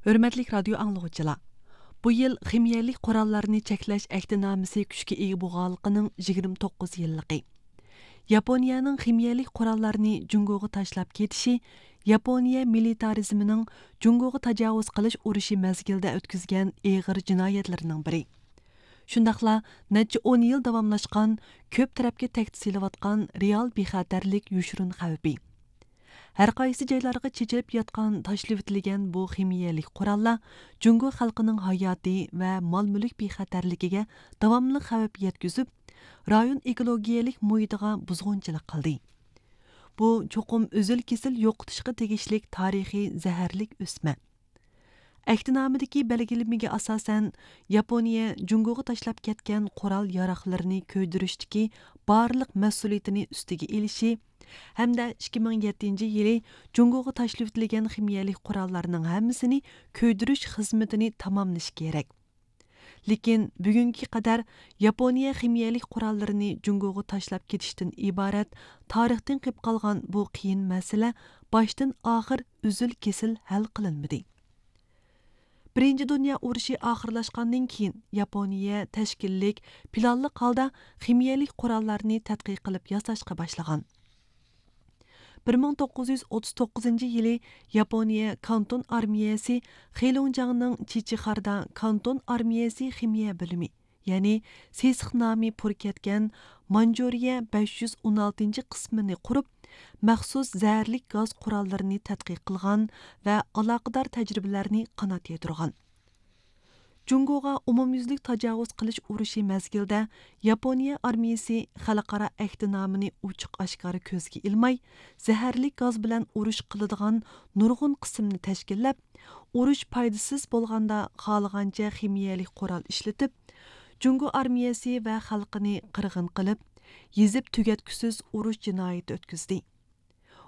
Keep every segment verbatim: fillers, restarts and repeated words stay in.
ھۆرمەتلىك رادىيو ئاڭلىغۇچىلار، بۇ يىل خىمىيەلىك قوراللارنى چەكلەش ئەھدىنامىسى كۈچكە ئىگە بولغانلىقىنىڭ يىگىرمە توققۇز يىللىقى. ياپونىيەنىڭ خىمىيەلىك قوراللارنى جۇڭگوغا تاشلاپ كېتىشى ياپونىيە مىلىتارىزمىنىڭ جۇڭگوغا تاجاۋۇز قىلىش ئۇرۇشى مەزگىلىدە ئۆتكۈزگەن ئېغىر جىنايەتلىرىنىڭ بىرى. شۇنداقلا نەچچە ئون يىل داۋاملاشقان، كۆپ تەرەپكە تەھدىت سېلىۋاتقان رېئال بىخەتەرلىك يوشۇرۇن خەۋپى. ھەر قايسى جايلارغا چېچىلىپ ياتقان تاشلىۋېتىلگەن بۇ خىمىيەلىك قوراللار جۇڭگو خەلقىنىڭ ھاياتى ۋە مال-مۈلۈك بىخەتەرلىكىگە داۋاملىق خەۋپ يەتكۈزۈپ، رايون ئېكولوگىيەلىك مۇھىتىغا بۇزغۇنچىلىق قىلدى. بۇ چوقۇم ئۈزۈل-كېسىل يوقىتىشقا تېگىشلىك تارىخىي زەھەرلىك ئۆسمە. ئەھدىنامىدىكى بەلگىلىمىگە ئاساسەن، ياپونىيە جۇڭگوغا تاشلاپ كەتكەن قورال ياراغلىرىنى كۆيدۈرۈشتىكى بارلىق مەسئۇلىيىتىنى ئۈستىگە ئېلىشى ھەمدە ئىككى مىڭ يەتتىنچى يىلى جۇڭگوغا تاشلىۋېتىلگەن خىمىيەلىك قوراللارنىڭ ھەممىسىنى كۆيدۈرۈش خىزمىتىنى تاماملىشى كېرەك. لېكىن بۈگۈنگە قەدەر ياپونىيە خىمىيەلىك قوراللىرىنى جۇڭگوغا تاشلاپ كېتىشتىن ئىبارەت تارىختىن قېلىپ قالغان بۇ قىيىن مەسىلە باشتىن ئاخىر ئۈزۈل-كېسىل ھەل قىلىنمىدى. بىرىنچى دۇنيا ئۇرۇشى ئاخىرلاشقاندىن كېيىن، ياپونىيە تەشكىللىك، پىلانلىق ھالدا خىمىيەلىك قوراللارنى تەتقىق قىلىپ ياساشقا باشلىغان. بىر مىڭ توققۇز يۈز ئوتتۇز توققۇزىنچى يىلى ياپونىيە كانتون ئارمىيەسى خېلۇڭجياڭنىڭ چىچىخاردا كانتون ئارمىيەسى خىمىيە بۆلۈمى، يەنى سېسىق نامى پۇر كەتكەن مانجۇرىيە بەش يۈز ئون ئالتىنچى قىسمىنى قۇرۇپ، مەخسۇس زەھەرلىك گاز قوراللىرىنى تەتقىق قىلغان ۋە ئالاقىدار تەجرىبىلەرنى قانات يايدۇرغان. جۇڭگوغا ئومۇميۈزلۈك تاجاۋۇز قىلىش ئۇرۇشى مەزگىلىدە ياپونىيە ئارمىيىسى خەلقئارا ئەھدىنامىنى ئوچۇق-ئاشكارا كۆزگە ئىلماي، زەھەرلىك گاز بىلەن ئۇرۇش قىلىدىغان نۇرغۇن قىسىمنى تەشكىللەپ، ئۇرۇش پايدىسىز بولغاندا خالىغانچە خىمىيەلىك قورال ئىشلىتىپ، جۇڭگو ئارمىيەسى ۋە خەلقىنى قىرغىن قىلىپ، يېزىپ تۈگەتكۈسىز ئۇرۇش جىنايىتى ئۆتكۈزدى.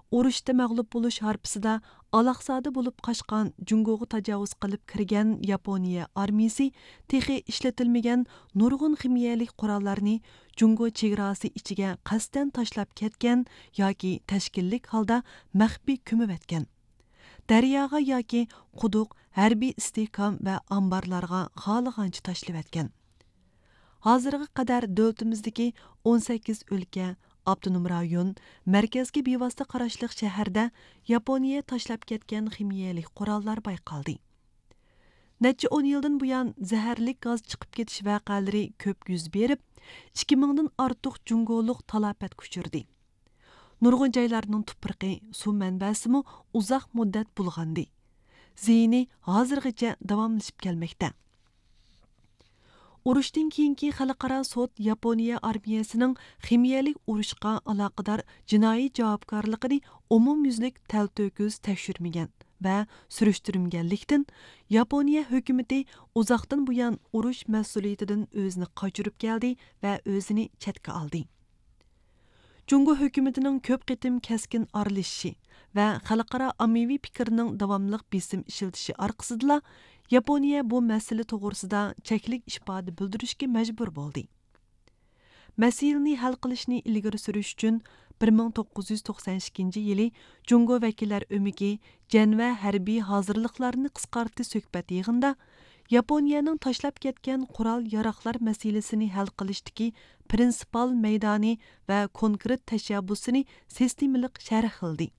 ئۇرۇشتا مەغلۇپ بولۇش ھارپىسىدا ئالاقزادە بولۇپ قاچقان، جۇڭگوغا تاجاۋۇز قىلىپ كىرگەن ياپونىيە ئارمىيىسى تېخى ئىشلىتىلمىگەن نۇرغۇن خىمىيەلىك قوراللارنى جۇڭگو چېگراسى ئىچىگە قەستەن تاشلاپ كەتكەن ياكى تەشكىللىك ھالدا مەخپىي كۆمۈۋەتكەن. دەرياغا ياكى قۇدۇق، ھەربىي ئىستىھكام ۋە ئامبارلارغا خالىغانچە تاشلىۋەتكەن. ھازىرغا قەدەر دۆلىتىمىزدىكى ئون سەككىز ئۆلكە، ئاپتونوم رايون، مەركەزگە بىۋاسىتە قاراشلىق شەھەردە ياپونىيە تاشلاپ كەتكەن خىمىيەلىك قوراللار بايقالدى. نەچچە ئون يىلدىن بۇيان، زەھەرلىك گاز چىقىپ كېتىش ۋەقەلىرى كۆپ يۈز بېرىپ، ئىككى مىڭدىن ئارتۇق جۇڭگولۇق تالاپەتكە ئۇچرىدى. نۇرغۇن جايلارنىڭ تۇپرىقى، سۇ مەنبەسىمۇ ئۇزاق مۇددەت بۇلغاندى. زىيىنى ھازىرغىچە داۋاملىشىپ كەلمەكتە. ئۇرۇشتىن كېيىنكى خەلقئارا سوت ياپونىيە ئارمىيەسىنىڭ خىمىيەلىك ئۇرۇشقا ئالاقىدار جىنايى جاۋابكارلىقىنى ئومۇميۈزلۈك تەلتۆكۈس تەكشۈرمىگەن ۋە سۈرۈشتۈرمىگەنلىكتىن، ياپونىيە ھۆكۈمىتى ئۇزاقتىن بۇيان ئۇرۇش مەسئۇلىيىتىدىن ئۆزىنى قاچۇرۇپ كەلدى ۋە ئۆزىنى چەتكە ئالدى. جۇڭگو ھۆكۈمىتىنىڭ كۆپ قېتىم كەسكىن ئارىلىشىشى ۋە خەلقئارا ئاممىۋى پىكىرنىڭ داۋاملىق بېسىم ئىشلىتىشى ئارقىسىدىلا، ياپونىيە بۇ مەسىلە توغرىسىدا چەكلىك ئىپادە بىلدۈرۈشكە مەجبۇر بولدى. مەسىلىنى ھەل قىلىشنى ئىلگىرى سۈرۈش ئۈچۈن، بىر مىڭ توققۇز يۈز توقسان ئىككىنچى يىلى جۇڭگو ۋەكىللەر ئۆمىكى جەنۋە ھەربىي ھازىرلىقلارنى قىسقارتتى سۆھبەت يىغىنىدا، ياپونىيەنىڭ تاشلاپ كەتكەن قورال ياراغلار مەسىلىسىنى ھەل قىلىشتىكى پرىنسىپال مەيدانى ۋە كونكرېت تەشەببۇسىنى سىستېمىلىق شەرھلىدى.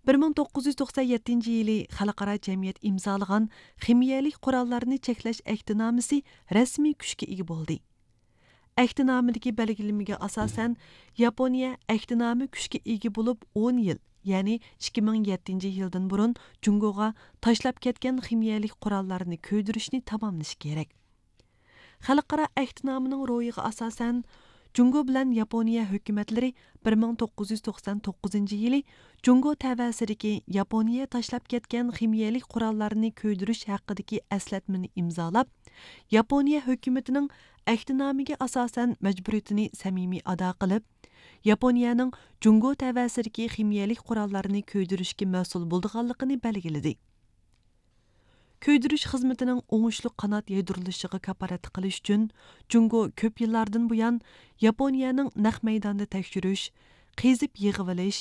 بىر مىڭ توققۇز يۈز توقسان يەتتىنچى يىلى خەلقئارا جەمئىيەت ئىمزالىغان خىمىيەلىك قوراللارنى چەكلەش ئەھدىنامىسى رەسمىي كۈچكە ئىگە بولدى. ئەھدىنامىدىكى بەلگىلىمىگە ئاساسەن، ياپونىيە ئەھدىنامە كۈچكە ئىگە بولۇپ ئون يىل، يەنى ئىككى مىڭ يەتتىنچى يىلدىن بۇرۇن جۇڭگوغا تاشلاپ كەتكەن خىمىيەلىك قوراللارنى كۆيدۈرۈشنى تاماملىشى كېرەك. خەلقئارا ئەھدىنامىنىڭ روھىغا ئاساسەن، جۇڭگو بىلەن ياپونىيە ھۆكۈمەتلىرى بىر مىڭ توققۇز يۈز توقسان توققۇزىنچى يىلى جۇڭگو تەۋەسىدىكى ياپونىيە تاشلاپ كەتكەن خىمىيەلىك قوراللارنى كۆيدۈرۈش ھەققىدىكى ئەسلەتمىنى ئىمزالاپ، ياپونىيە ھۆكۈمىتىنىڭ ئەھدىنامىگە ئاساسەن مەجبۇرىيىتىنى سەمىمىي ئادا قىلىپ، ياپونىيەنىڭ جۇڭگو تەۋەسىدىكى خىمىيەلىك قوراللارنى كۆيدۈرۈشكە مەسئۇل بولىدىغانلىقىنى بەلگىلىدى. كۆيدۈرۈش خىزمىتىنىڭ ئوڭۇشلۇق قانات يايدۇرۇلۇشىغا كاپالەتلىك قىلىش ئۈچۈن، جۇڭگو كۆپ يىللاردىن بۇيان ياپونىيەنىڭ نەق مەيداندا تەكشۈرۈش، قېزىپ يىغىۋېلىش،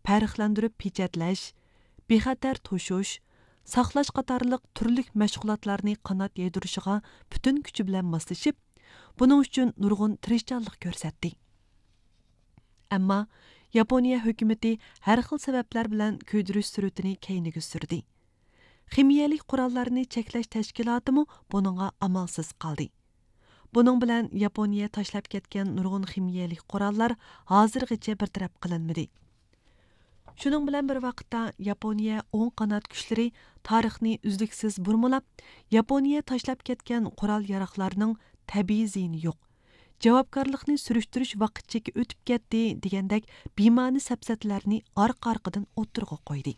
پەرقلەندۈرۈپ پېچەتلەش، بىخەتەر توشۇش، ساقلاش قاتارلىق تۈرلۈك مەشغۇلاتلارنى قانات يايدۇرۇشىغا پۈتۈن كۈچى بىلەن ماسلىشىپ، بۇنىڭ ئۈچۈن نۇرغۇن تىرىشچانلىق كۆرسەتتى. ئەمما ياپونىيە ھۆكۈمىتى ھەر خىل سەۋەبلەر بىلەن كۆيدۈرۈش سۈرئىتىنى كەينىگە سۈردى. خىمىيەلىك قوراللارنى چەكلەش تەشكىلاتىمۇ بۇنىڭغا ئامالسىز قالدى. بۇنىڭ بىلەن ياپونىيە تاشلاپ كەتكەن نۇرغۇن خىمىيەلىك قوراللار ھازىرغىچە بىر تەرەپ قىلىنمىدى. شۇنىڭ بىلەن بىر ۋاقىتتا، ياپونىيە ئوڭ قانات كۈچلىرى تارىخنى ئۈزلۈكسىز بۇرمىلاپ، ياپونىيە تاشلاپ كەتكەن قورال ياراغلارنىڭ تەبىئىي زىيىنى يوق، جاۋابكارلىقنى سۈرۈشتۈرۈش ۋاقىت چېكى ئۆتۈپ كەتتى دېگەندەك بىمەنە سەپسەتىلەرنى ئارقا ئارقىدىن ئوتتۇرىغا قويدى.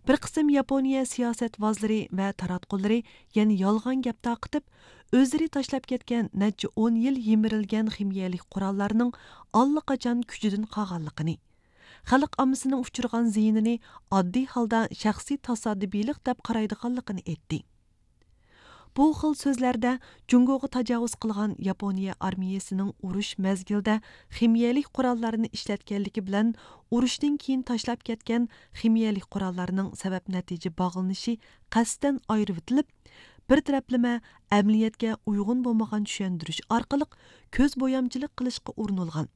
بىر قىسىم ياپونىيە سىياسەتۋازلىرى ۋە تاراتقۇلىرى يەنە يالغان گەپ تارقىتىپ، ئۆزلىرى تاشلاپ كەتكەن نەچچە ئون يىل يىمىرىلگەن خىمىيەلىك قوراللارنىڭ ئاللىقاچان كۈچىدىن قالغانلىقىنى، خەلق ئاممىسىنىڭ ئۇچرىغان زىيىنىنى ئاددىي ھالدا شەخسىي تاسادىپىيلىق دەپ قارايدىغانلىقىنى ئېيتتى. بۇ خىل سۆزلەردە جۇڭگوغا تاجاۋۇز قىلغان ياپونىيە ئارمىيىسىنىڭ ئۇرۇش مەزگىلىدە خىمىيەلىك قوراللارنى ئىشلەتكەنلىكى بىلەن ئۇرۇشتىن كېيىن تاشلاپ كەتكەن خىمىيەلىك قوراللارنىڭ سەۋەب نەتىجە باغلىنىشى قەستەن ئايرىۋېتىلىپ، بىر تەرەپلىمە ئەمەلىيەتكە ئۇيغۇن بولمىغان چۈشەندۈرۈش ئارقىلىق كۆز بويامچىلىق قىلىشقا ئۇرۇنۇلغان.